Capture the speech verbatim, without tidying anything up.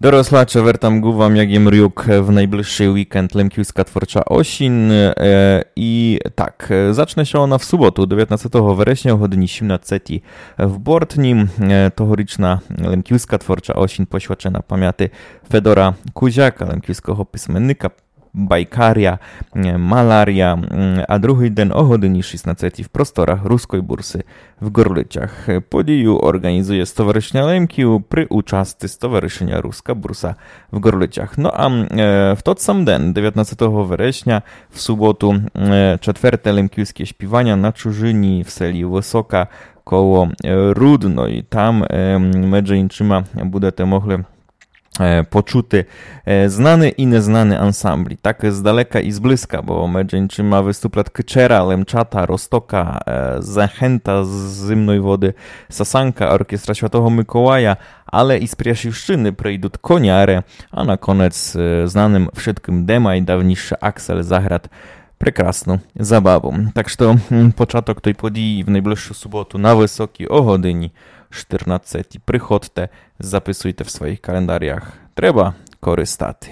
Дорослаче, вертам ґу вам, як єм рюк, в найближшый вікенд Лемківска творча осінь. Е, і так, е, зачне ся она в суботу, девятнадцятого вересня, о годині сімнадцятій в Бортні. Е, тогорічна Лемківска творча осінь посвячена памяти Федора Кузяка, лемківского писменника, байкаря, е, маларя, м, а другый ден о годині шістнадцятій в просторах Руской бурсы в Горлицях. Подію орґанізує Стоваришня Лемків при участи Стоваришыня Руска бурса в Горлицях. Но а, е, в тот сам ден, девятнадцятого вересня, в суботу, е, четверте лемківске шпіваня на чужыні в селі Высока коло, е, Рудной. Там, е, медже іншыма будете могли, е, почути, е, знаны і незнаны ансамблі. Так здалека і зблизка, бо медже іншыма выступлят Кычера, Лемчата, Розтока, е, Захента з Зимной Воды, Сасанка, оркестра Святого Миколая, але і з Пряшівщыны прийдут Коняре, а на конец, е, знаным вшыткым демай давнійше Аксель заграт прекрасну забаву. Так што, м, початок той події в найближшу суботу на Высокій о годині штырнадцятій. Приходте, записуйте в своїх календарях. Треба користати.